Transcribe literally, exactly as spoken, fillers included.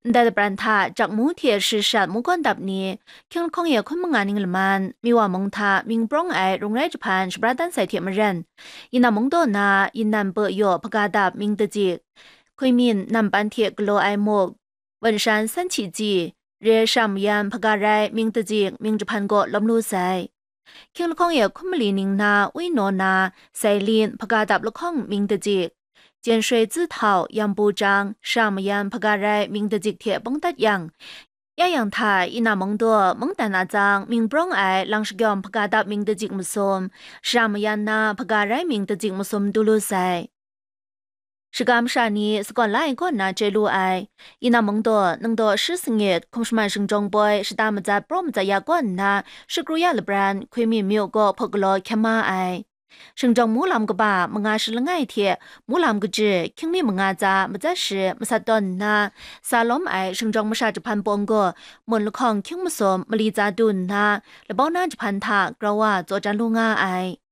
Ndai lapran hta Jakmu hte Shashat mungkawn dap ni, Hkying lahkawng e hkun manga ning laman, Miwa mung hta mying prawng ai rung rai jahpan shabra dan sai hte maren, Yinam mung daw na Yinam Pe Yaw hpaga dap mying dajik, Hkuimin Nampan hte galaw ai muk, Wenshan Sanhti Tsi, Re Sham Mayan hpaga rai mying dajik mying jahpan gaw lawm lu sai. Hkying lahkawng e hkun mali ning na Wi Naw na Sailin hpaga dap lahkawng mying dajik, Jen Shui Tsi Htau Yambu Jang Sham Mayan hpaga rai mying dajik hte bawng dat yang, ya yang hta Yinam mung daw mungdan atsang mying prawng ai lang shagyawm hpaga dap mying dajik masum, Sham Mayan na hpaga rai mying dajik masum du lu sai. Shaga masha ni sagawn la ai kaw nna chye lu ai. Yinam mung daw ningdaw shi sangit hkum shaman shingjawng poi shata matsat praw matsat ya kaw nna shakru ya labran Hkuimin myu gaw hpuk galaw hkyem ma ai. Shingjawng mu lam kaba manga shi langai hte mu lam kaji hkying mi manga tsa matsat shi masat tawn nna, sa lawm ai shingjawng masha jahpan pawng gaw mun lahkawng hkying masum mali tsa du nna, labau na jahpan hta grau wa tsaw jan lu nga ai.